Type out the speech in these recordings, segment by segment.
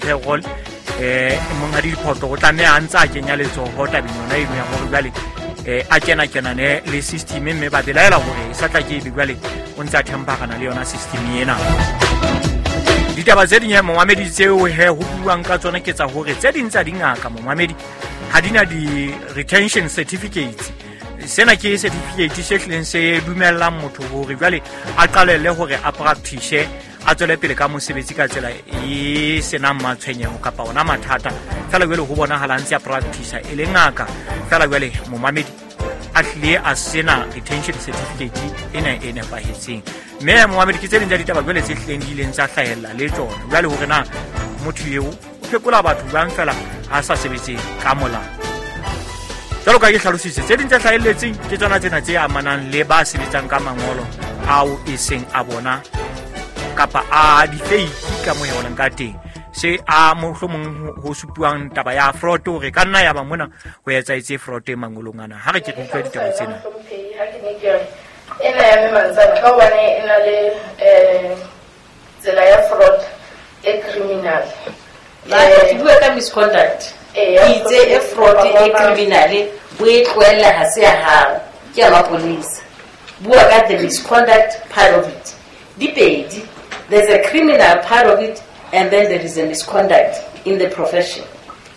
payroll monghadi Diphoto o tlameha a ntse a kenya letsoho tabeng yona eno ya hore jwale a kena kenane le system, mme ba belaela hore e sa tla ke ebe jwale o ntse a themparana le yona system ena. Ditaba tse ding momamedi tseo he ho buang ka tsona ke tsa hore tse ding tsa dingaka momamedi ha di na di-retention certificates. Sena ke certificate se hlileng se dumellang motho hore jwale a qalelle hore a practice, a tswele pele ka mosebetsi ka tsela e senang matshwenyeho kapa ona mathata. Fela jwale ho bonahala ntse a practice e le ngaka, fela jwale momamedi a hlile a sena retention certificate ena e nepahetseng. Mme momamedi ke tse ding tsa ditaba jwale tse hlileng di ileng tsa hlahella le tsona jwale hore na motho eo o phekola batho jwang fela a sa sebetse ka molao. Jwalo ka ke hlalositse, tse ding tse hlahelletseng ke tsona tsena tse amanang le ba sebetsang ka mangolo ao e seng a bona kapa a difeiki ka moo e ka teng. Se a mohlomong ho supuang taba ya fraud hore ka nna ya ba mona ho etsahetse fraud mangolong ana. Ha re ke re utlwe ditaba tsena. Ena ya Mme Mantsane ka hobane e na le tsela ya fraud e criminal. Ke bua ka misconduct. Itse e fraud e criminal o e tlohella ha se ya hao, ke ya maponesa. Bua ka the misconduct part of it. Di pedi. There's a criminal part of it and then there is a misconduct in the profession.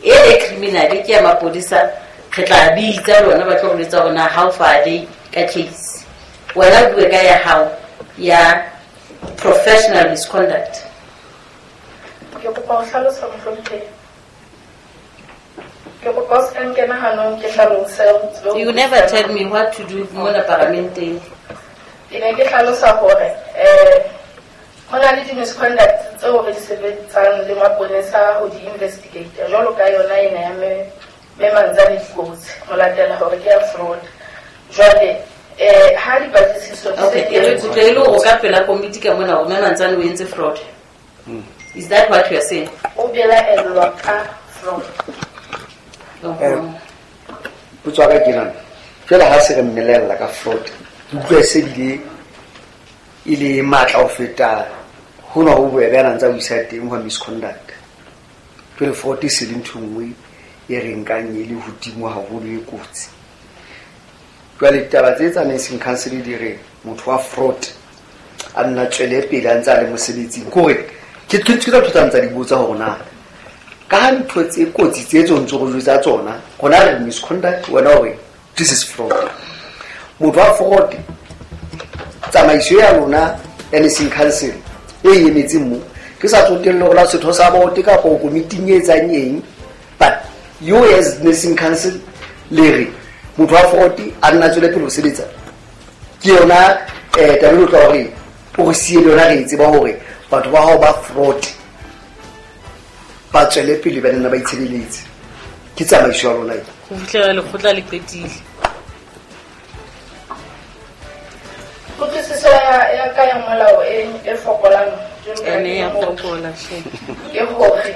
E criminal ke ya maponesa, re tla bitsa lona ba tlo re jwetsa hore na how far they ka case. Wena bua ka ya hao ya professional misconduct. Ke kopa ho hlalosa mohlomphehi. Ke kopa o se ka nkena hanong ke hlalose. You never tell me what to do mona paramenteng. Ke ne ke hlalosa hore ho na le di-misconduct tseo re di sebetsang le maponesa ho di investigate jwalo ka yona ena ya Mme Mantsane dikotsi ho latela hore ke ya fraud. Jwale ha dipatlisiso di se Okay, di e re entswe- kutlwe e le hore o ka pela komiti ka mona hore Mme Mantsane o entse fraud. Is that what you are saying? O belaellwa ka fraud. Potso ya ka ke nana jwale ha se re mmelella ka fraud, ke utlwa e se bile e le matla ho feta hona ho bobebe a na ntse a buisa teng hwa misconduct. Jwale fraud e se le ntho e nngwe e re nkang e le hodimo haholo e kotsi. Jwale ditaba tse tsa nursing council di re motho wa fraud a nna tswele pele a ntse a le mosebetsing, ke hore ke tsa ntho tsa ntsa di botsa hore na ka ha ntho tse kotsi tse tso ntso re jwetsa tsona, rona re misconduct, wena o re this is fraud. Motho wa fraud, tsamaiso ya lona ya nursing council e emetseng mo, ke sa tsotelle hore la setho sa bote kapa o komiting e etsang eng, but you as nursing council le re motho wa fraud a nna tswele pele ho sebetsa. Ke yona taba e tla hore o re siye le yona, re e tseba hore batho ba hao ba fraud ba tswele pele ba nna ba itshebeletse. Ke tsamaiso ya lona e. Ho fihlela lekgotla le qetile. Kutlwisiso ya ka ya molao e fokolang jwalo ka Ene ya ke motho. fokola, hle. Ke hore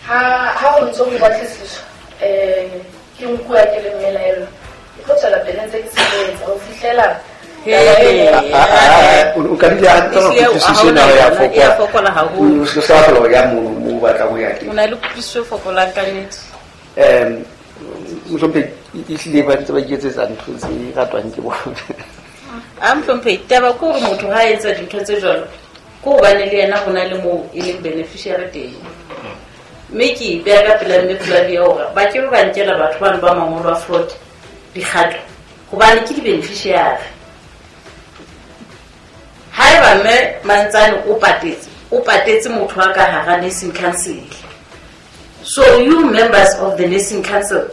ha ho ntso ho batlisiswa, ke nkuwa ke le mmelaellwa, ke tlo tswela pele ntse ke sebetsa ho fihlela O ka dula hantle hore kutlwisiso ena ya fokola. E a fokola haholo. O se ka kgona ho ya mono moo o batlang ho ya teng. O na le kutlwisiso e fokolang ka nnete. Mohlomphehi, ehlile ba ntse ba iketsetsa ntho tse ratwang ke bona. A mohlomphehi, taba ke hore motho ha a etsa dintho tse jwalo, ke hobane le yena ho na le moo e leng beneficiary teng. Mme ke ipeha ka pela mme Flavia hore ba ke ba nkela batho bano ba mangolo a fraud dikgato, hobane ke di-beneficiary. Haeba mme Mantsane o patetse, o patetse motho wa ka hara nursing council. So you members of the nursing council,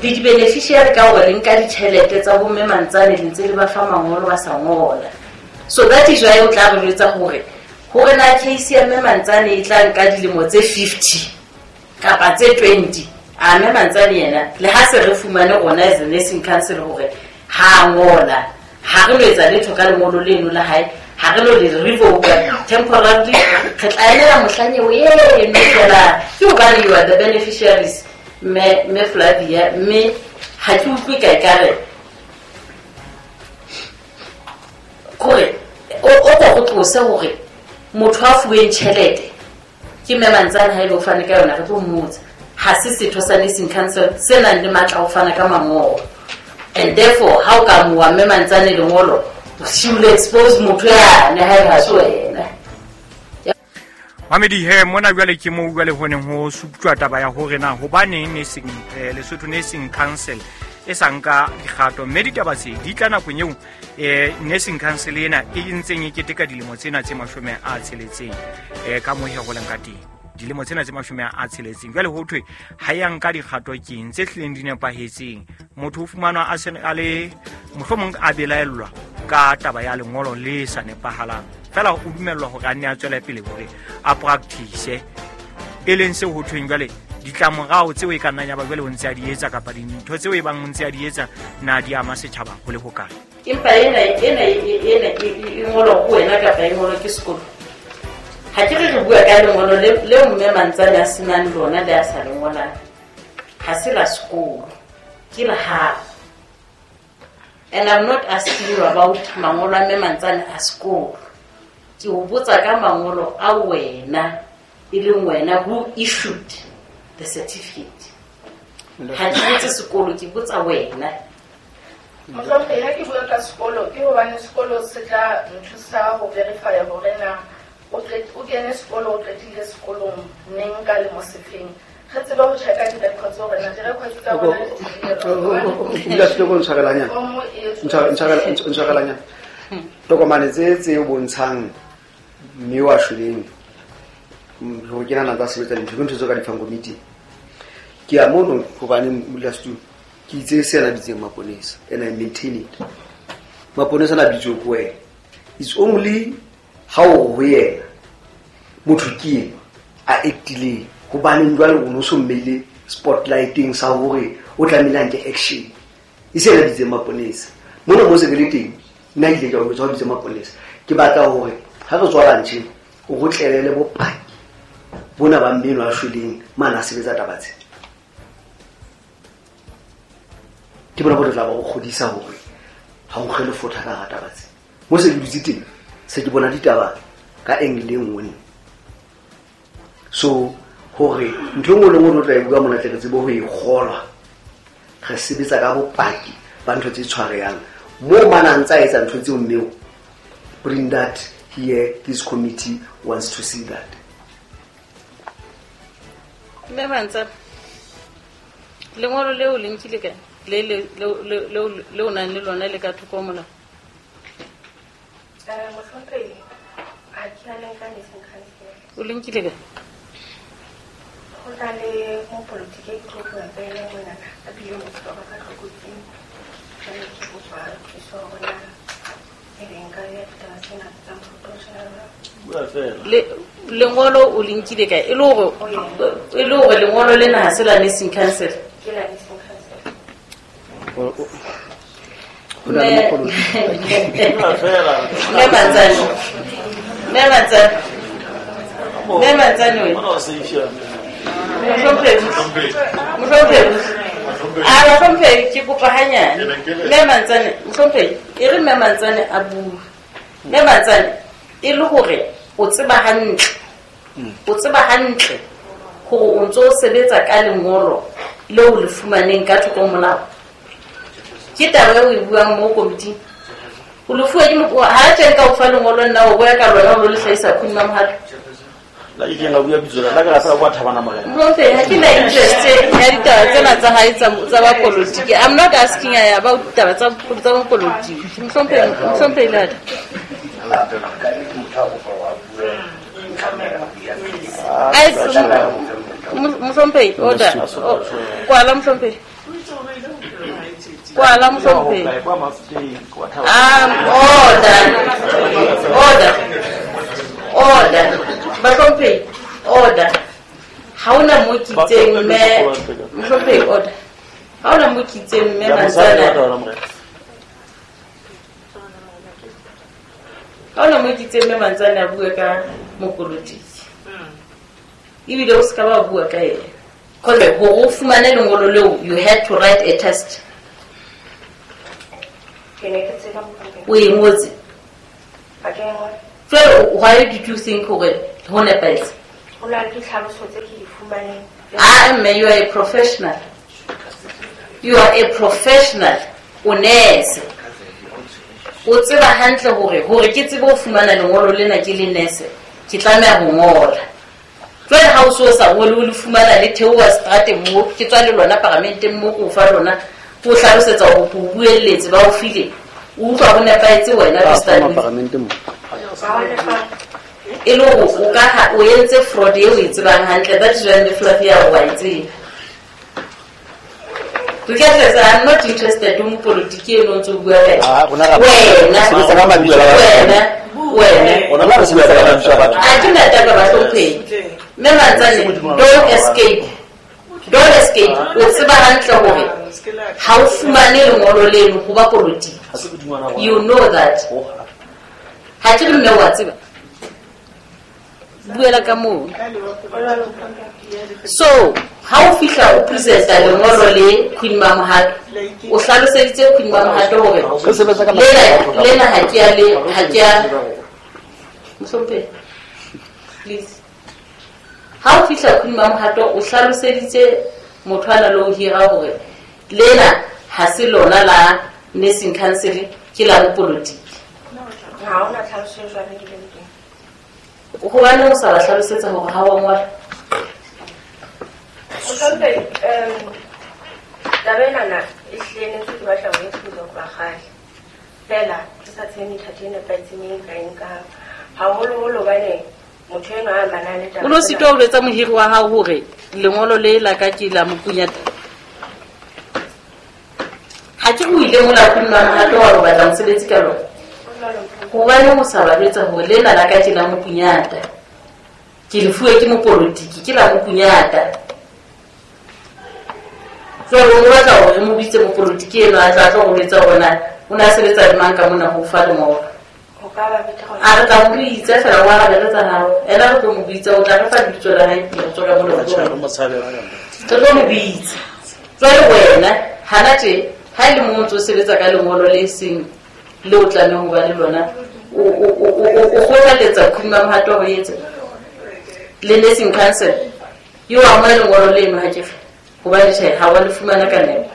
le di-beneficiary ka hore le nka ditjhelete tsa bo mme Mantsane le ntse le ba fa mangolo ba sa ngola. So that is why o tla re jwetsa hore na case ya mme Mantsane e tla nka dilemo tse 50 kapa tse 20. A mme Mantsane yena le ha se re fumane rona as a nursing council hore ha ngola, ha re no etsa letho ka lengolo leno la hae, ha re no le revoke temporarily, re tla emela mohlang eo eno fela. Ke hobane you are the beneficiaries, mme Flavia, mme ha ke utlwe ka ekare kore o ko go tlose hore motho a fuweng tjhelete Ke mme Mantsane ha ile o fane ka yona re tlo mmotsa. Ha se setho sa nursing council se nang le matla a ho fana ka mangolo. And therefore ha o ka amoha mme Mantsane lengolo, she will expose motho yane ha e ha se wena. Mamedi he mona jwale ke moo jwale ho neng ho suptjwa taba ya hore na hobaneng nursing Lesotho Nursing Council e sa nka dikgato, mme ditaba tse di tla nakong eo Nursing Council ena e ntseng e keteka dilemo tsena tse 60 ka moo he ho leng ka teng. Dilemo tsena tse 60 jwale ho thwe ha ya nka dikgato keng tse hlileng di nepahetseng. Motho o fumanwa a se a le mohlomong a belaellwa ka taba ya lengolo le sa nepahalang, fela o dumellwa hore a nne a tswele pele hore a practice, e leng seo ho thweng jwale ditlamorao tseo e ka nnang ya ba jwale o ntse a di etsa kapa dintho tseo e bang o ntse a di etsa na di ama setjhaba ho le hokae. Empa ena e ngolwa ko wena kapa e ngolwa ke sekolo. Ha ke re re bua ka lengolo leo mme Mantsane a senang lona le a sa le ngolang, ha se la sekolo, ke la hao. And I'm not asking you about mangolo a mme Mantsane a sekolo. Ke o botsa ka mangolo a wena, e leng wena who issued the certificate. Ha ke botse sekolo, ke botsa wena. Mohlomphehela ke bua ka sekolo ke hobane sekolo se tla nthusa ho verify hore na o kene sekolo, o qetile sekolong neng ka lemo sefeng. Re tsebe ho checka di-records hore na di-records tsa rona di Dula se go ntshwarelanyana. Ntshwarelanyana. Tokomane tse o bontshang mme wa shweleng ho kena na tsa sebetsa dintho ke ntho tse ka di fang committee. Ke a mono hobane modulasetulo ke itse se na bitseng maponesa and I maintain it. Maponesa na bitswe ko wena. It's only ha o ho yena motho ke ena a actileng hobaneng jwale o no so mmeile spotlighting sa hore o tlamehile a nke action. E se na bitseng maponesa. Mona mo se ke le teng nna ile ka o botsa ho bitse maponesa. Ke batla hore ha re tswa lunch o go tlelele bopaki bona ba mmeno a shweleng mana a sebetsa taba tse. Ke bona bo tla ba go kgodisa hore ha o kgele fotha ka taba tse. Mo se ke dutse teng se ke bona ditaba ka angle e nngwe. So hore ntho e nngwe le nngwe re tla e bua mona tle re tsebe ho e kgolwa. Re sebetsa ka bopaki ba ntho tse tshwarehang. Mo mana ntsa etsa ntho tseo mmeo, bring that here, this committee wants to see that. Mme Mantsane, lengolo leo le nkile kae? Le o nang le lona le ka thoko ho molao? Mohlomphehela, ha ke a le nka nursing council. O le nkile kae? Ho na le mopolotiki e ke tlo bua ka ena mona, a bile motho ba ka tlokotsing. Jwale ke kopa thuso hore na ebe nka ya ditaba tsena tsa mopolotiki. Lengolo o le nkile kae? E le hore lengolo lena ha se la nursing council. Ke la nursing council. Mme Mantsane wena. Mohlomphehi ke kopa hanyane. Mme Mantsane, mohlomphehi, e re mme Mantsane a bue. Mme Mantsane, e le hore o tseba hantle. O tseba hantle hore o ntso o sebetsa ka lengolo leo le fumaneng ka thoko molao. Ke taba eo e buang mo komiting. O le fuwe ke ha tjeng ka o fa lengolo nna o boya ka lona o lo le hlahisa Queen Mamohato. La ke nka bua bitso la ka sa bua Thabana Morena. Mohlomphehela, ha ke na interest ya ditaba tsena tsa hae tsa ba politiki. I'm not asking about ditaba tsa politiki. Mohlomphehela. Mohlomphehela, order. Kwala mohlomphehela. Kwala mohlomphehela. Order. Order. Mohlomphehela, order. Ha ona mo kitseng mme mohlomphehela, order. Ha ona mo kitseng mme Mantsane. Ha ona mo kitseng mme Mantsane a bua ka mopolotiki. Ebile o ska ba bua ka yena. Because hore o fumane lengolo leo, you had to write a test. O e ngotse. Jwale why did you think hore ho nepahetse? Ho na le ditlhaloso tse ke di fumaneng. Ah, mme, you are a professional. You are a professional. O nurse. O tseba hantle hore ke tsebe ho fumana lengolo lena ke le nurse, ke tlameha ho ngola. Jwale ha o so sa ngole o le fumana le theoha seterateng mo, ke tswa le lona paramenteng mo, ke o fa lona, ke o hlalosetsa hore ke o buelletse, ba o file. O utlwa ho nepahetse wena, Ba Mr. fama Louis. paramenteng mo. E le hore o ka ha o entse fraud eo o e tsebang hantle, that is why Flavia wa e tseba. Regardless, I'm not interested in politiki eno ntse o bua ka yona. Ah, rona ra- Wena, sebetsa ka mabitso a batho. wena, wena. Rona re sebetsa ka mabitso a batho. Ha ke na taba bahlomphehi. Mme Mantsane, don't escape. Don't escape. O tseba hantle hore ha o fumane lengolo leno ho ba politiki. Ha se hodingwana rona. You know that. Ha ke re mme wa tseba. Buela ka moo. So, ha o fihla o presenta lengolo le Queen Mamohato, o hlaloseditse Queen Mamohato hore Re sebetsa ka mabitso a batho. lena ha ke a le, ha ke a Mohlomphehi, please. Ha o fihla Queen Mamohato, o hlaloseditse motho a na le ho hira hore lena ha se lona la nursing council, ke la bopolotiki. Ha hona tlhaloso e jwalo e bileng teng. Hobane o sa ba hlalosetsa hore ha wa ngola. Mohlomphehi, taba enana e hlile ne ntse ke batla ho e kgutla hoba kgale. Feela ke sa tsebe methati e nepahetseng e nka e nkang. Haholoholo hobane motho enwa a amanang le taba O no tsena. sitwa ho jwetsa mohiri wa hao hore lengolo le la ka ke la mokunyata. Ha ke o ile mola Queen Mamohato wa ho batla mosebetsi ka lona. Hobane o sa ba jwetsa hore lena la ka ke la mokunyata. Ke le fuwe ke mopolotiki, ke la mokunyata. Jwale o batla hore re mo bitse mopolotiki enwa a tla tlo go jwetsa hore na o ne a sebetsa le mang ka mona ho fa lengolo. Ho ka ba betere hore A re tla mo bitsa fela, wa arabela tsa hao. Ena re tlo mo bitsa, o tla re fa lebitso la hae pele re tswa ka mona ho Tjhe, tlo. re mo tshabela ka ntle. Re tlo mo bitsa. Jwale wena, hana tje, ha e le mo ntso sebetsa ka lengolo le seng le o tlamehang ho ba le lona, o kgothaletsa Queen Mamohato hore e etse le nursing council. Yo amohele lengolo leno ha ke fe. Hobane tjhe, ha wa le fumana ka nepo.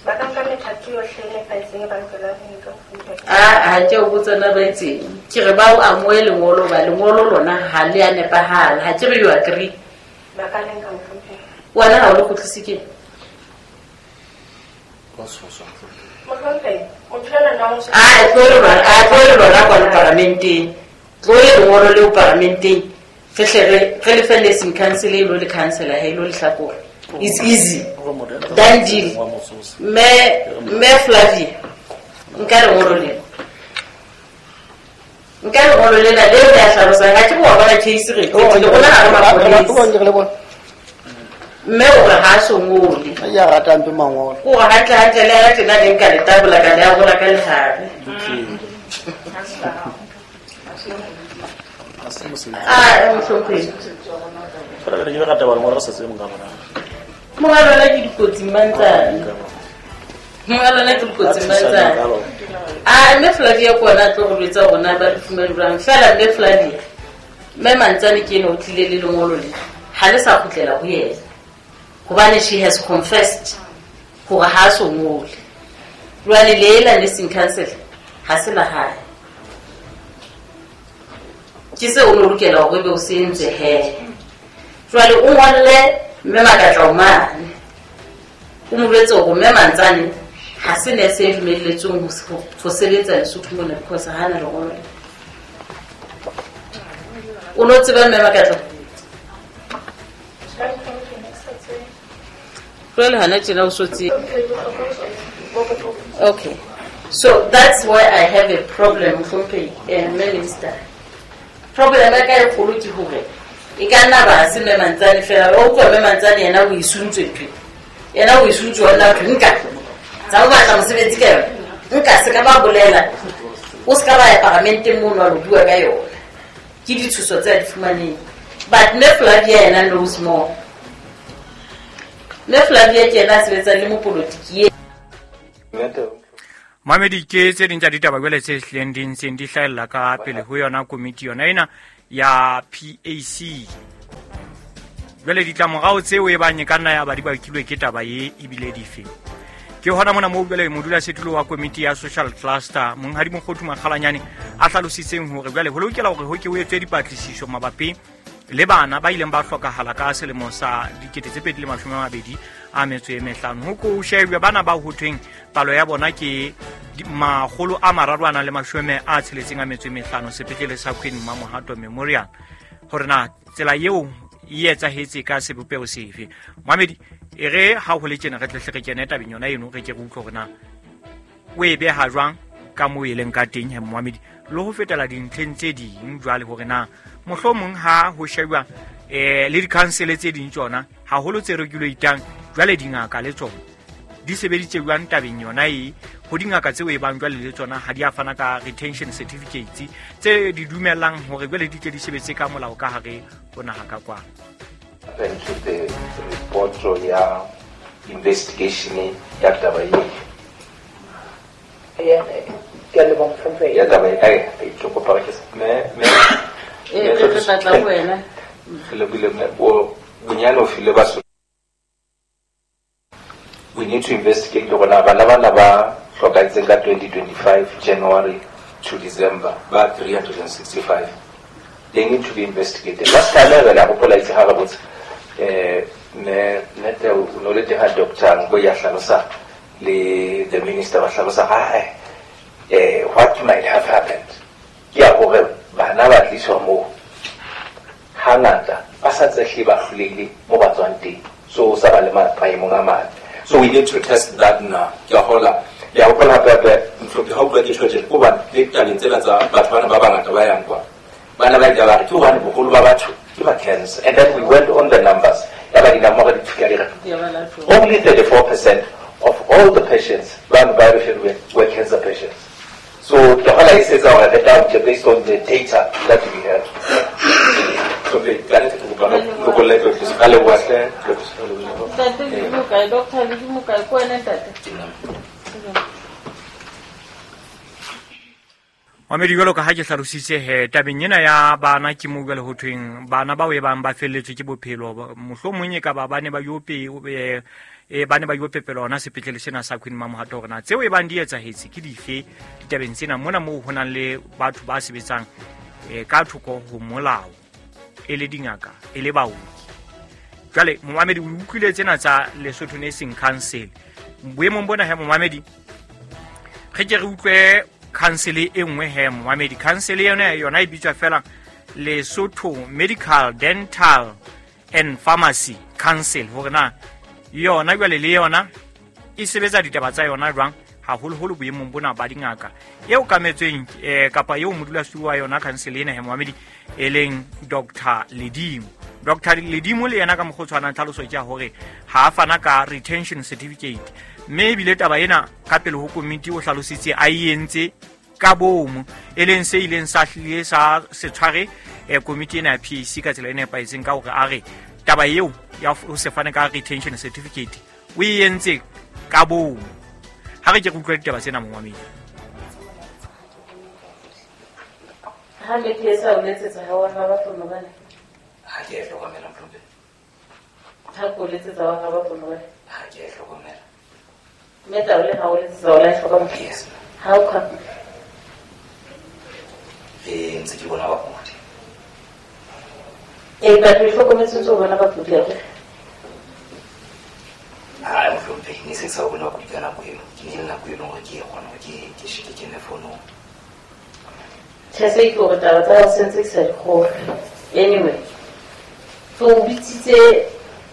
Ba ka nka methati yohle e nepahetseng e ba lokelang ho e nka ho fumana. Ah, ha ke o botsa na ba etseng. Ke re ba o amohele lengolo, ba lengolo lona ha le a nepahala. Ha ke re you agree. Ba ka le nka mohlomphehi. Wena ha o le kgutlise ke? Mohlomphehi, motho enwa na o Ah, tlo le lona, ah, tlo le lona kwano paramenteng. Tlo le lengolo leo paramenteng. Re hle re le fe nursing council e lo le councilor ha e lo lehlakore. It's easy. Done deal. Mme Flavia, nka lengolo lena. Nka lengolo lena le le a hlalosang. Ha ke bo bona case re qetile. Rona ha re mapolesa. Re le bona. Mme o re ha so ngole. Ha ya rata mpe mangolo. O re hantle hantle le ha tjena le nka le tabola ka le a rola ka lehare. Ah, mohlomphehi. Fela re ke re rata ba lengolo re sa tsebe monga bona. Monga lona ke dikotsi mantsane. Monga lona ke dikotsi mantsane. Ah, mme Flavia ke ona a tlo re jwetsa hore na ba re fumane jwang. Fela mme Flavia, mme Mantsane ke ena o tlile le lengolo le. Ha le sa kgutlela ho yena. Hobane she has confessed hore ha a so ngole. Jwale le ela nursing council ha se la hae. Ke seo o no lokela hore ebe o se entse he. Jwale o ngolle mme Makatla o mane. O mo jwetse hore mme Mantsane ha se nurse e dumelletsweng ho sebetsa Lesotho mona because ha na lengolo. O no tseba mme Makatla? Jwale hana tjena o so tsebe. Okay. So that's why I have a problem, Mohlomphehi, Minister. Problem ya ka e kgolo ke hore e ka nna ba se mme Mantsane fela. O utlwa mme Mantsane yena o isuntswe ntho. Yena o isuntswe wa nna thwe nka. Tsa o batla mosebetsi ka yona. Nka se ka ba bolela. O se ka ba ya paramenteng mono wa lo bua ka yona. Ke ditshoso tse a di fumaneng. But mme Flavia yena knows more. Mme Flavia ke yena a sebetsang le mopolotiki e. Mamedi, ke tse ding tsa ditaba jwale tse hlileng di ntseng di hlahella ka pele ho yona komiti yona ena ya PAC. Jwale ditlamorao tseo e bang e ka nna ya ba di bakilwe ke taba e ebile dife. Ke hona mona moo jwale modulasetulo wa komiti ya social cluster Monghadi Mokgothu Makgalanyane a hlalositseng hore jwale ho lokela hore ho ke ho etswe dipatlisiso mabapi le bana ba ileng ba hlokahala ka selemo sa 2025. Ho ko shebwe bana ba ho thweng palo ya bona ke 365 sepetlele sa Queen Mamohato Memorial, hore na tsela eo e etsahetse ka sebopeho sefe. Mohamedi, e re ha ho le tjena re tle re kene tabeng yona eno, re ke re utlwe hore na o e beha jwang ka moo e leng ka teng he Mohamedi, le ho fetela dintlheng tse ding jwale hore na mohlomong ha ho shebwa le di-council tse ding tsona haholo tse regulatang jwale dingaka le tsona di sebeditse jwang tabeng yona e ho dingaka tseo e bang jwale le tsona ha di a fana ka retention certificates tse di dumellang hore jwale di tle di sebetse ka molao ka hare ho naha ka kwa. Into the report ya investigation ya taba e ke a leboha mohlomphehi. Ya taba e ke kopa ke me e re tla ho wena re lebile me o bonyane o file ba. We need to investigate hore na bana bana ba hlokahetseng ka 2025 January to December ba 365. They need to be investigated. Last time re la hopola itse ha re botsa ne nete o no le teng ha doctor ngo ya hlalosa le the minister ba hlalosa ha what might have happened. Ke ya hore bana ba tliswa moo hangata ba sa tsehle ba hlolehile mo ba tswang teng, so sa ba le maemong a mabe. So we need to test that now. Ke hola ya hopola hape hape mhlopi ha o bua ke tjho ko ba le tabeng tsena tsa batho bana ba bangata ba yang kwa bana ba ile ba re ke hobane boholo ba batho ke ba cancer, and then we went on the numbers ya ba dinamoro di fika di re only 34% of all the patients ba ba referred were cancer patients. So ke hola e setsa hore re tla based on the data that we have. So be ka ne ke kopa go le tlo ka le wa hle Ntate le mokae, doctor le mokae, ko wena ntate. Mamedi, jwalo ka ha ke hlalositse he tabeng ena ya bana ke mo jwale ho thweng bana bao e bang ba felletswe ke bophelo, mohlomong e ka ba bane ba yo bane ba yo pepela hona sepetlele sena sa Queen Mamohato, hore na tseo e bang di etsahetse ke dife ditabeng tsena mona moo ho nang le batho ba sebetsang ka thoko ho molao e le dingaka e le baoki. Jwale momamedi o utlwile tsena tsa Lesotho Nursing Council. Boemong bona he momamedi re ke re utlwe council e nngwe he momamedi. Council yona e bitswa fela Lesotho Medical Dental and Pharmacy Council, hore na yona jwale le yona e sebetsa ditaba tsa yona jwang haholoholo boemong bona ba dingaka eo kametsweng kapa eo modulasetulo wa yona council ena he momamedi e leng Dr. Ledimo. Dr. Ledimo le yena ka mokgwa o tshwanang tlhaloso ke ya hore ha a fana ka retention certificate, mme ebile taba ena ka pele ho komiti o hlalositse a e entse ka bomo, e leng se ileng sa hlile sa se tshware komiti ena ya PAC ka tsela e nepahetseng ka hore a re taba eo ya ho se fane ka retention certificate o e entse ka bomo. Ha re ke re utlwa ditaba tsena momamedi. Ha le ke sa o letsetsa ha wa ba fono bana. Ha ke e hlokomela mhlomphe. Ha ko letsetsa wa ba fono bana. Ha ke e hlokomela. Mme taole ha o letsetsa o la e hlokomela. Yes. How come? Ntse ke bona bakudi. E ba re hlokometse ntse o bona bakudi ya re. Ha mhlomphe ne se sa bona bakudi ka nako eo. Ke ne le nako e leng hore ke kgona hore ke sheke ke ne fono. Tjhe se ke hore taba tsa sentse ke sa di kgolwe. Anyway, so o bitsitse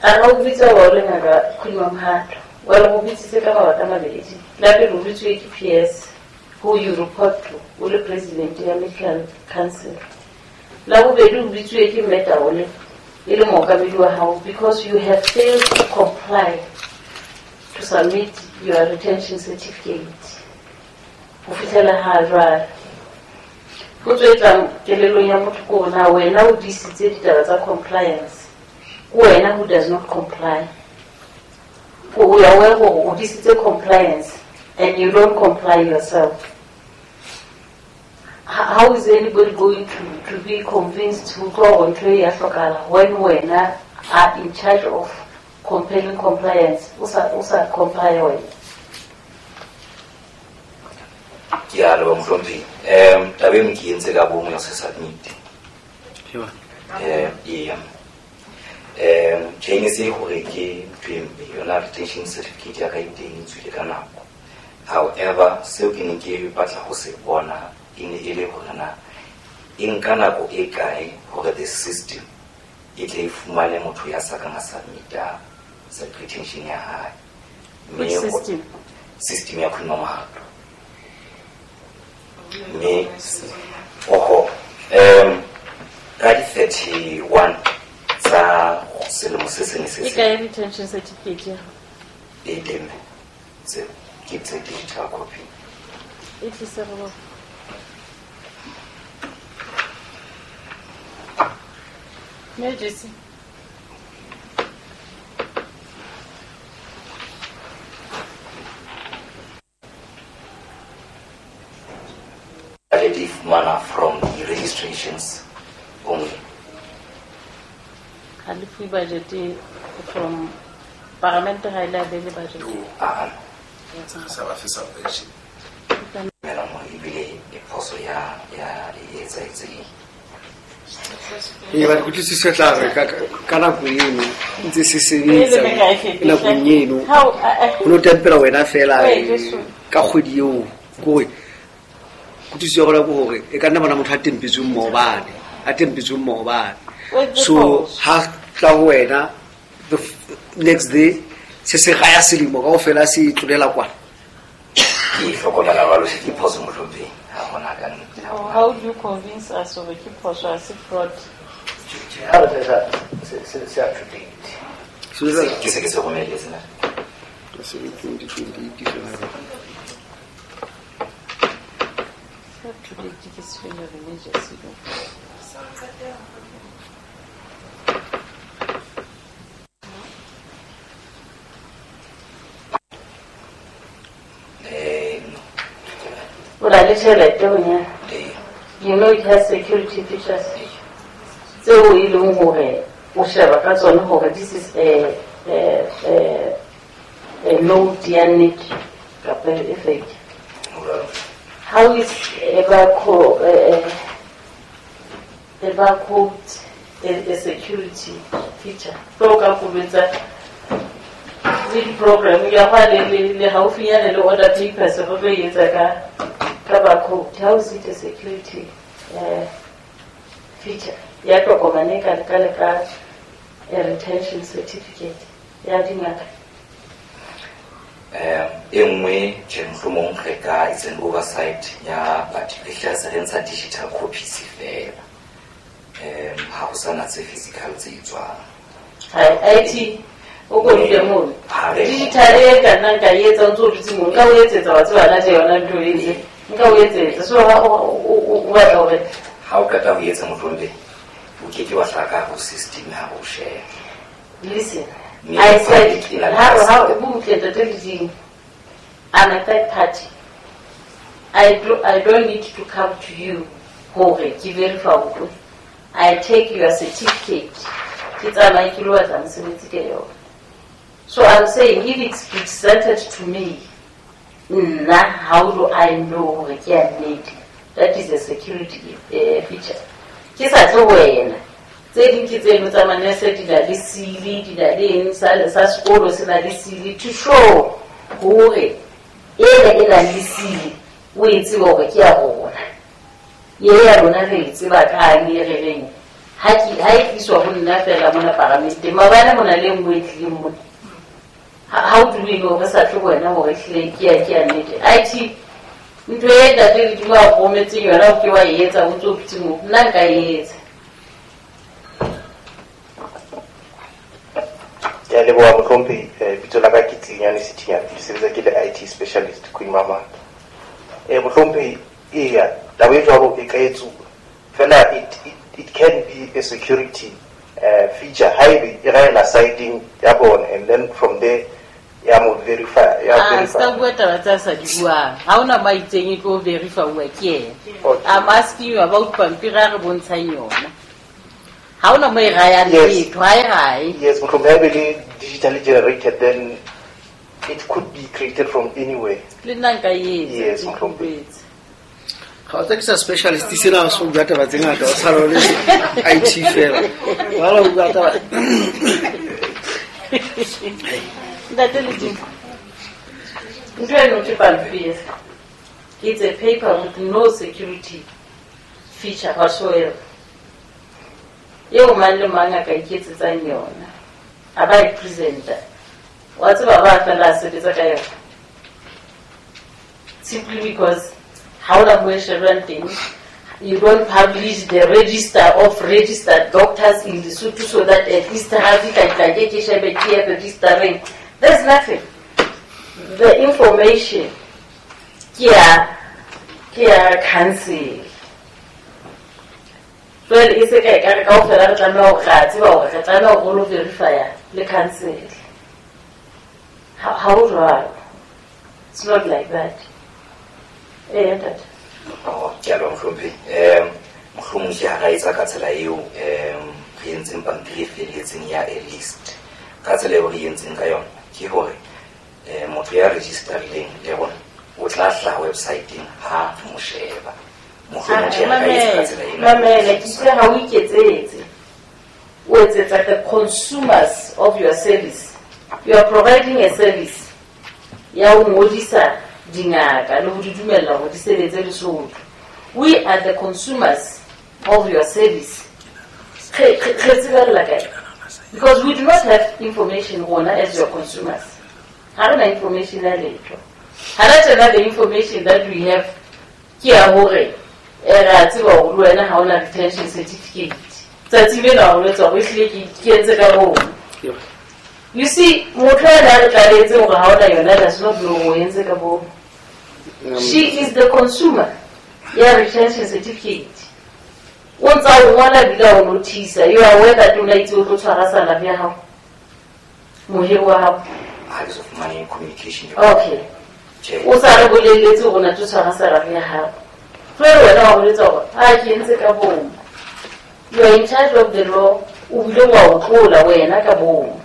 a ga o bitsa wa o le ngaka Queen Mamohato. Well, o bitsitse ka mabaka a mabedi. La pele o bitswe ke PS who you report to, o le president ya Medical Council. La bobedi o bitswe ke Mme Taole e le mookamedi wa hao because you have failed to comply to submit your retention certificate. Ho fihlela ha jwale. Potso e tlang kelellong ya motho ke hore na wena o tiisitse ditaba tsa compliance, ke wena who does not comply. O ya aware hore o tiisitse compliance and you don't comply yourself. How is anybody going to be convinced to go on to ya hlokahala when wena are in charge of compelling compliance? O sa comply wena. Ke a leboha mohlomphehi. Taba eno ke entse ka bomo ya se submit. Eya. Tjhe ne se hore ke ntho e mpe, yona retention certificate ya ka e teng e tswile ka nako. However, seo ke neng ke batla ho se bona e ne e le hore na e nka nako e kae hore the system e tle e fumane motho ya sa kang a submita retention ya hae. Which system? System ya Queen Mama. Mme oho ka di 31 tsa selemo se seng se E seng. kae retention certificate ya hao? E teng. Tse ke tse digital copy. E tlise re bone. Mme Jesse. Budget e fumana from the registrations only. Ha le fuwe budget from parliament, ha e le abele budget. Ah. Sa ba fe subvention. Mela mo ebile e phoso ya e etsahetseng. Ee, ba kutlwisiso tla re ka nako eno ntse se sebetsa Pele me ka e fetisa. nakong eno. How, O no tempela wena fela Wait, just ka kgwedi eo, ke hore kutlwisiso ya rona ke hore e ka nna bona motho a tempetsweng maobane, a tempetsweng maobane. Wait, the So pause. ha tla ho wena the next day se se gaya selemo kaofela se tlolela kwana. Ke hlokomela jwalo, ke phoso mohlomphehi, ha hona ka nnete. How do you convince us hore ke phoso, ha se fraud? Ha re se up to date. So jwale- Ke se ke se romelletse na. Se le 2028 sona. Up to date ke se fela re Jesse. No. O na le tjhelete bonyane. Ee. You know it has security features. Tseo e leng hore o sheba ka tsona hore this is a note ya nnete kapa e fake. How is a barcode a security feature? So ka kubetsa le di-program ya hwa le haufinyane le order papers re tlo e etsa ka barcode. How is it a security feature? Ya tokomane ka le ka a retention certificate ya dingaka. E nngwe tjhe mohlomong re ka it's an oversight ya but re hlahisa re ntsha digital copies fela. Ha ho sana tse physical tse etswang. Hai, IT o ko dule mono. Ha re- Digital e ka nna nka e etsa o ntso o dutse mono. Nka o etsetsa wa tseba na tje yona ntho e ntse. Nka o etsetsa. So ha o batla hore ha o qeta ho etsa mohlomong o ke ke wa hlaka ho system ha o share. Listen, Mme I said, public e na le ha access. o butle ntate Ledimo, I'm a third party. I don't need to come to you hore ke verify hore I take your certificate. Ke tsamaye ke lo batla mosebetsi ka yona. So I'm saying if it's presented to me, nna, how do I know hore ke ya nnete? That is a security feature. Ke sa tle ho wena. Tse ding ke tseno tsa manese di na le seal, di na le eng, sa sekolo se na le seal to show hore ena e na le seal, o e tsebe hore ke ya rona. Ye ya rona re e tseba kang e re reng. Ha e tliswa ho nna fela mona paramenteng, maobane mona le e nngwe e tlileng mona. How do we know re sa tle ho wena hore ehlile ke ya nnete? IT, ntho e ntate Ledimo a rometseng yona o ke wa e etsa o ntso o dutse moo, nna nka e etsa. Ke a leboha mohlomphehi. Bitso la ka ke Tsinyane Sithinyane, ke sebetsa ke le IT specialist Queen Mama. Mohlomphehi, eya, taba e jwalo e ka etsuwa. Fela it can be a security feature haebe e raela siding ya bona, and then from there ya mo verify ya Ah, verify. Ska bua taba tsa sa di buang. Ha hona mo a itseng e tlo verify-uwa ke yena. Okay. I'm asking you about pampiri a re bontshang yona. Ha hona mo e rayang Yes. letho, ha e raye. Yes, mohlomphehi, ha e le digitally generated, then it could be created from anywhere. Le nna nka e etsa, Yes, ke mohlomphehi. utlwetse. Ga o tsa ke sa specialist sena so bua taba tse ngata, o tshwana le IT fela. Wa la bua taba. Ntate Ledimo, ntho eno ke pampiri. It's a paper with no security feature whatsoever. Eo mang le mang a ka iketsetsang yona. A ba e presenter. Wa tseba ba fela a sebetsa ka yona. Simply because ha hona mo e shebang teng, you don't publish the register of registered doctors in Lesotho so that at least ha fihla tla ke ke shebe ke ya registering. There's nothing. The information ke ya council. Jwale e se ka ekare kaofela re tlameha hore re a tseba hore re tlameha hore re lo verify-a le council. Ha ho jwalo. It's not like that. Eh, ntate. Oh, ke a leboha mohlomphehi. Mohlomong ke ha ra etsa ka tsela eo re entseng pampiri e felletseng ya a list. Ka tsela eo re entseng ka yona ke hore motho ya registerileng le rona o tla hlaha website-eng ha re mo sheba. Mohlomong ke ha ra etsa ka tsela ena. Mamela, ke itse ha o iketsetse. O etsetsa the consumers of your service. You are providing a service ya ho ngodisa dingaka le ho di dumella hore di sebetse Lesotho. We are the consumers of your service. Re tsebella kae? Because we do not have information rona as your consumers. Ha re na information ya letho. Ha re tjena, the information that we have ke ya hore re a tseba hore le wena ha ona retention certificate. Tsatsi lena o etsa hore ehlile ke entse ka bomo. You see, motho ena a re tlaletse hore ha ona yona does not know o entse ka bomo. She is the consumer ya retention certificate. O ntsa o ngola ebile o notice. You are aware that o na itse o tlo tshwara salary ya hao. Mohiri wa hao. Ha ke so fumane communication. Okay. Tjhe. O sa re bolelletse hore o na tlo tshwara salary ya hao. Jwale wena wa boletse hore ha ke entse ka bomo. You are in charge of the law. O bile wa o tlola wena ka bomo.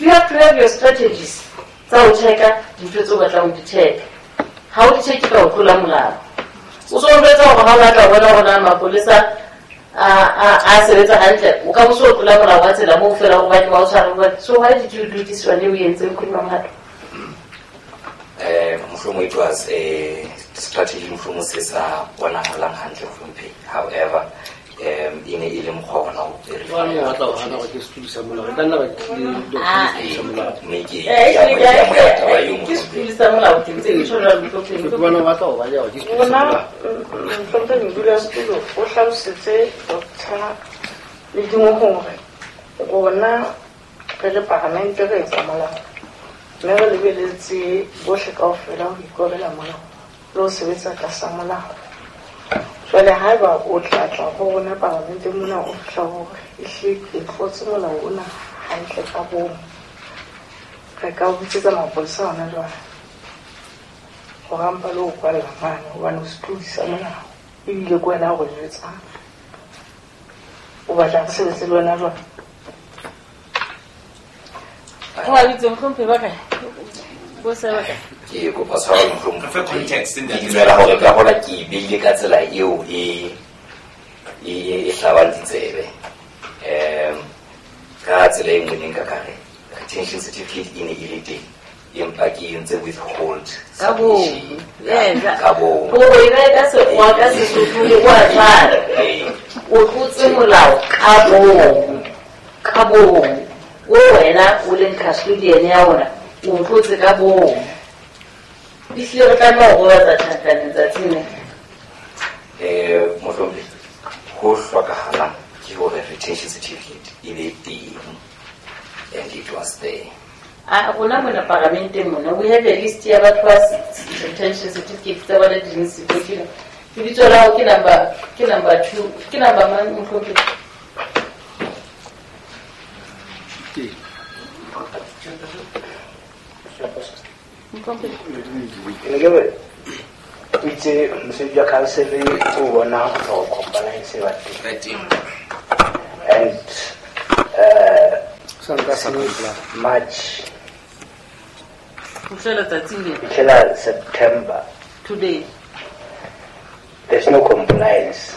You have to have your strategies tsa ho checka dintho tseo o batlang ho di checka. Ha o di checke ka ho tlola molao. O so jwetsa hore ha o batla ho bona hore na mapolesa a sebetsa hantle, o ka bo so tlola molao wa tsela moo fela hore ba ke ba o tshware ba. So why did you do this one eo o entseng Queen Mamhato? Mohlomong it was a strategy mohlomong se sa bonahalang hantle mohlomphehi. However, e ne e le mokgwa ona ho verify. Jwale o batla ho hana hore ke setulo sa molao. E ka nna ba ke le Ah. setulo sa molao. Mme ke Eh, ke amohela taba eo ke mohlomphehi. setulo sa molao ke ntse ke tjho jwalo mohlomphehi. Ke bona o batla ho baleha hore ke setulo sa Rona molao. mohlomphehi modulasetulo o hlalosetse Doctor Ledimo hore rona re le paramente re etsa molao mme re lebeletse bohle kaofela ho ikobela molao le ho sebetsa tlasa molao. Jwale haeba o tla tla ho rona parlamenteng mona o fihla hore ehlile ke tlotse molao ona hantle ka bomo, re ka o bitsetsa mapolesa hona jwale hore a mpa le ho kwalla mane hobane o setlodi sa molao ebile ke wena a re jwetsang. O batla re sebetse le wena jwang? O a bitse mohlomphehi ba kae? Bo se ba kae? Ke kopa tshwarelo mohlomong. Re fe context, Ke ntate. dumela hore ka hona ke e beile ka tsela eo e hlabang ditsebe. Ka tsela e nngwe ne nka ka re retention certificate e ne e le teng empa ke entse withhold Ka bomo. submission. Yes. Ka bomo. O e behe ka sekgowa ka Sesotho le wa tshwana. O tlotse molao ka bomo. Ka bomo. O wena o leng custodian ya ona, o tlotse ka bomo. Ehlile re tlameha ho robatsa tjhankaneng tsatsing lena. Mohlomphehi, ho hlokahalang ke hore retention certificate e be teng and it was there. A rona mona paramenteng mona we have a list ya batho ba retention certificate tsa bona di leng siko. Ke lebitso la hao ke number 2, ke number mang mohlomphehi? Ke. Ne ke re o itse mosebetsi wa council o bona hore compliance e ba teng. And March fitlhela September today there's no compliance.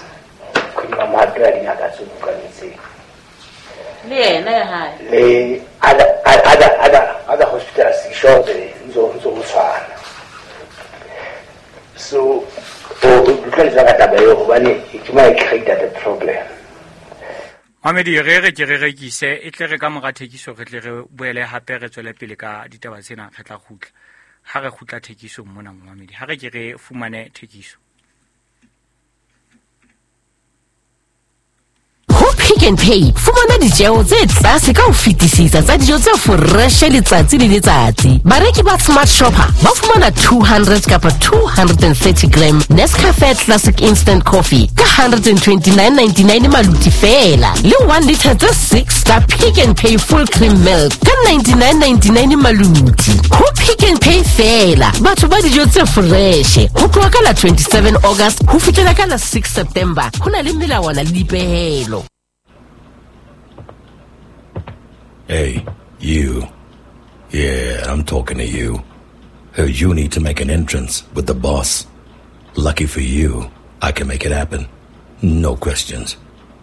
Queen Mamohato ya dingaka tse bukanetseng le yena ya hae le other hospitals sure ntse ho tshwana. So o utlwa ka taba eo hobane it might create the problem. Mamedi re re ke re rekise e tle re ka mora thekiso re tle re boele hape re tswele pele ka ditaba tsena re tla kgutla. Ha re kgutla thekisong mona Mamedi ha re ke re fumane thekiso. Pick n Pay fumana ditjeo tse tlase ka ho fetisisa tsa dijo tse fresh letsatsi le letsatsi. Bareki ba Smart Shopper ba fumana 200 kapa 230 gram Nescafe Classic Instant Coffee ka 129.99 maluti fela, le 1 liter tse 6 tsa Pick n Pay Full Cream Milk ka 99.99 maluti. Ho Pick n Pay fela batho ba dijo tse fresh ho tloha ka la 27 August ho fihlela ka la 6 September. Ho na le melawana le dipehelo. Hey, you. Yeah, I'm talking to you. Heard you need to make an entrance with the boss. Lucky for you, I can make it happen. No questions.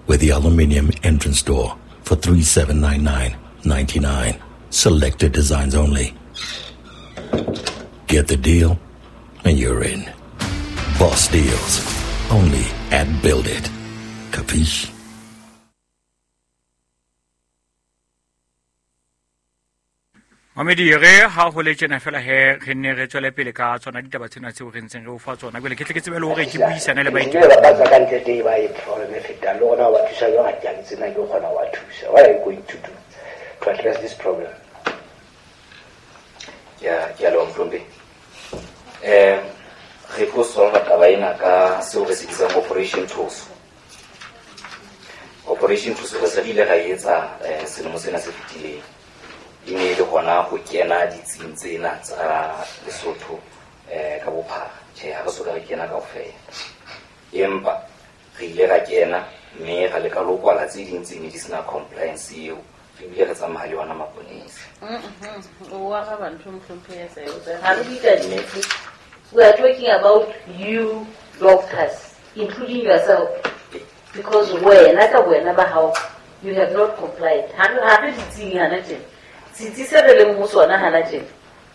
With the aluminium entrance door for $3,799.99. Selected designs only. Get the deal, and you're in. Boss deals. Only at Build It. Capiche? Mamedi re ha ho le tjena fela he re nne re tswele pele ka tsona ditaba tsena tseo re ntseng re o fa tsona. Jwale ke tle ke tsebe le hore ke buisane le baeti. Ba tsa ka ntle teng ba e problem e fetang le rona wa thusa jwang ha ke tsena ke kgona wa thusa. What are you going to do to address this problem? Ya ke a leboha Mhlombe. Re tlo solva taba ena ka seo re se bitsang Operation Thuso. Operation Thuso re se re ile ra e etsa selemo sena se fetileng. E ne e le hona ho kena ditsing tsena tsa Lesotho ka bophara. Tjhe, ha re soka re kena kaofela. Empa re ile ra kena mme ra leka le ho kwala tse ding tse ne di sena compliance eo. Re bile re tsamaya le yona maponesa. O araba ntho Mohlomphehi ya sa e Ha re bue ka ditsi. We are talking about you doctors, including yourself, because wena ka wena ba hao you have not complied. Ha re ditsing hana tjena. Setsi se re leng ho sona hana tjena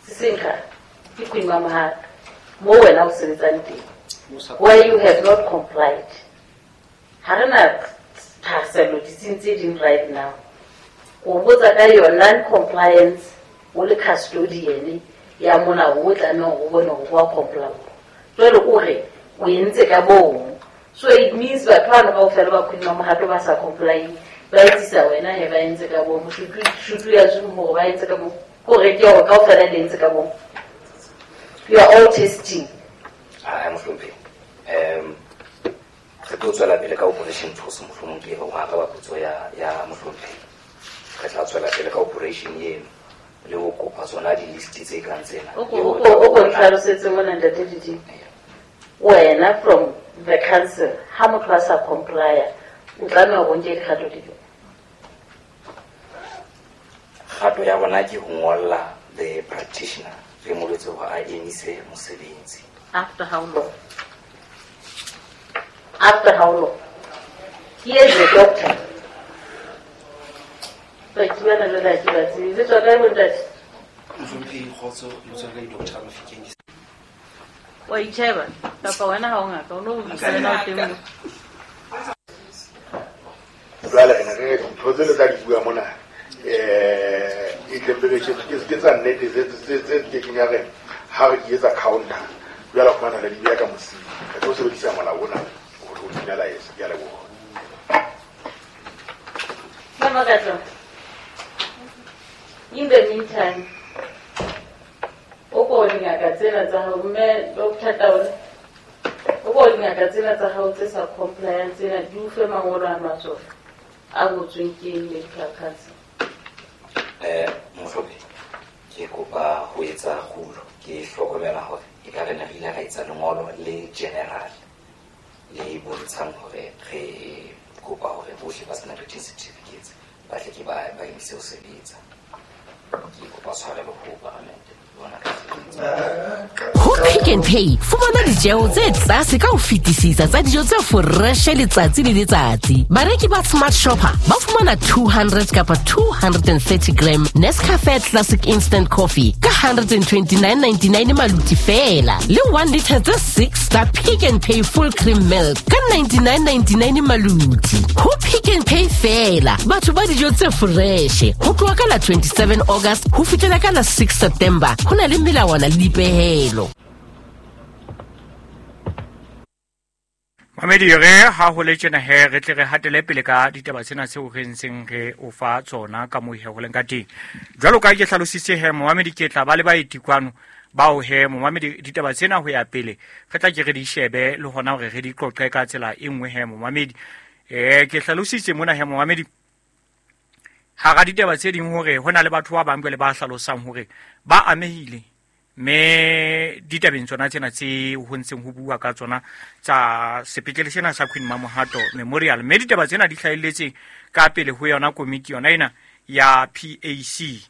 se senkga ke Queen Mamohato mo wena o sebetsang teng, where you have not complied. Ha re na thahasello ditsing tse ding right now. O botsa ka your non-compliance o le custodian ya mona o tlamehang ho bone hore wa comply. Jwale o re o entse ka bomo, so it means batho bano kaofela ba Queen Mamohato ba sa complying ba etsisa wena he ba entse ka bomo. Should we assume hore ba entse ka bomo? Kore ke hore kaofela le entse ka bomo. You are all testing. Ha Mohlomphehi. Re tlo tswela pele ka Operation Thuso mohlomong ke ho araba potso ya Mohlomphehi. Re tla tswela pele ka operation eno le ho kopa tsona di-list tse kang tsena. O ko ntlhalosetse mona ntate Didi. Wena from the council ha motho a sa comply o tlameha ho nke dikgato dife? Kgato ya bona ke ho ngolla the practitioner re mo jwetse hore a emise mosebetsi. After how long? After how long? Here is the doctor. Ba ke bana le la ke ba tsebe. Le tswa kae bontate? Mohlomphehi kgotso, lebitso la ka ke Dr. Mafikeng. Wa itjheba kapa wena ha o ngaka o no buisana o teng mo. Jwale re ne re ntho tse le tla di bua mona e temperature ke tsa nnete tse ke keng ya re ha re di etsa counter jwale ho fumana le di beha ka mosing. Re tlo sebedisa molao ona hore o finalize. Ke a leboha. Mama Katlo, in the meantime o ko dingaka tsena tsa hao mme Dr. Taole o ko dingaka tsena tsa hao tse sa compliance tsena di o fe mangolo a matsoho a ngotsweng ke medical council. Mohlomphehi ke kopa ho etsa kgulo. Ke hlokomela hore e ka re ne re ile ra etsa lengolo le general le bontshang hore re kopa hore bohle ba senang written certificates ba tle ke ba emise ho sebetsa. Ke kopa tshwarelo ho paramente bona ka Ho Pick n Pay, fumana ditjeo tse tlase ka ho fetisisa tsa dijo tse foreshe letsatsi le letsatsi. Bareki ba Smart Shopper ba fumana 200 kapa 230 gram Nescafe Classic Instant Coffee ka 129.99 maluti feela, le 1 litre tse 6 tsa Pick n Pay Full Cream Milk ka 99.99 maluti. Ho Pick n Pay feela, batho ba dijo tse foreshe. Ho tloha ka la 27 August ho fihlela ka la 6 September, ho na le melawana le dipehelo. Mamedi, re ha ho le tjena he, re tle re hatele pele ka ditaba tsena tseo re ntseng re o fa tsona ka moo he ho leng ka teng. Jwalo ka ke hlalositse he, momamedi, ke tla ba le baeti kwano bao he, momamedi, ditaba tsena ho ya pele re tla ke re di shebe le hona hore re di qoqe ka tsela e nngwe he, momamedi. Ke hlalositse mona he, momamedi, hara ditaba tse ding hore ho na le batho ba bang jwale ba hlalosang hore ba amehile mme ditabeng tsona tsena tse ho ntseng ho bua ka tsona tsa sepetlele sena sa Queen Mamohato Memorial, mme ditaba tsena di hlahelletse ka pele ho yona komiti yona ena ya PAC.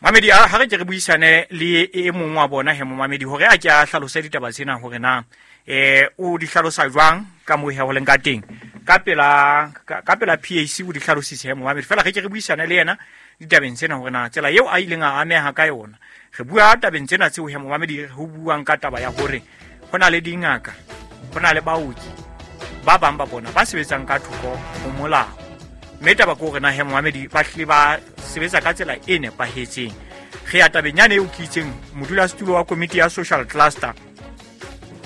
Mamedi, ha re ke re buisane le e mong wa bona he, momamedi, hore a ke a hlalose ditaba tsena hore na o di hlalosa jwang ka moo he ho leng ka teng ka pela PAC o di hlalositse he, momamedi. Fela re ke re buisane le yena ditabeng tsena hore na tsela eo a ileng a ameha ka yona. Re bua tabeng tsena tseo he, momamedi, ho buang ka taba ya hore ho na le dingaka, ho na le baoki ba bang ba bona ba sebetsang ka thoko ho molao, mme taba ke hore na he, momamedi, ba hlile ba sebetsa ka tsela e nepahetseng. Re ya tabeng yane eo ke itseng modulasetulo wa komiti ya social cluster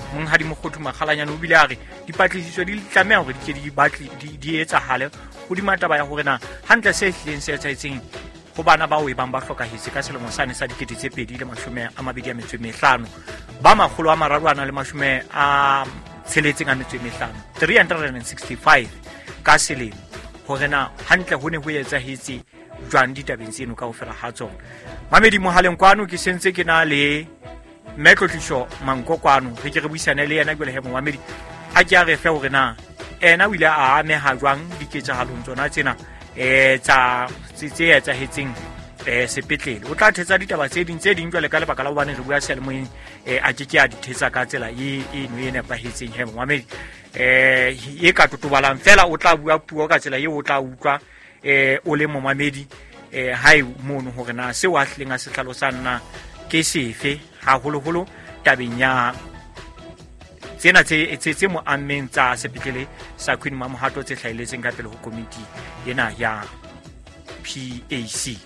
Monghadi Mokgothu Makgalanyane o bile a re dipatlisiso di tlameha hore di ke di batle di etsahale hodima taba ya hore na hantle se hlileng se etsahetseng ho bana bao e bang ba hlokahetse ka selemo sane sa 2025 ba 365 365 ka selemo, hore na hantle ho ne ho etsahetse jwang ditabeng tseno kaofela ha tsona. Mamedi, mohaleng kwano ke sentse ke na le mme Tlotliso Manko kwano, re ke re buisane le yena jwale he, momamedi, a ke a re fe hore na ena o ile a ameha jwang diketsahalong tsona tsena tsa tse etsahetseng sepetlele. O tla thetsa ditaba tse ding jwale ka lebaka la hobane re bua seyalemoyeng, a ke ke a di thetsa ka tsela eno e nepahetseng he, momamedi, e ka totobalang fela. O tla bua puo ka tsela eo o tla utlwa o le momamedi hae mono hore na seo a hlileng a se hlalosang na ke sefe, haholoholo tabeng ya tsena tse mo ammeng tsa sepetlele sa Queen Mamohato tse hlahelletseng ka pele ho komiti ena ya PAC.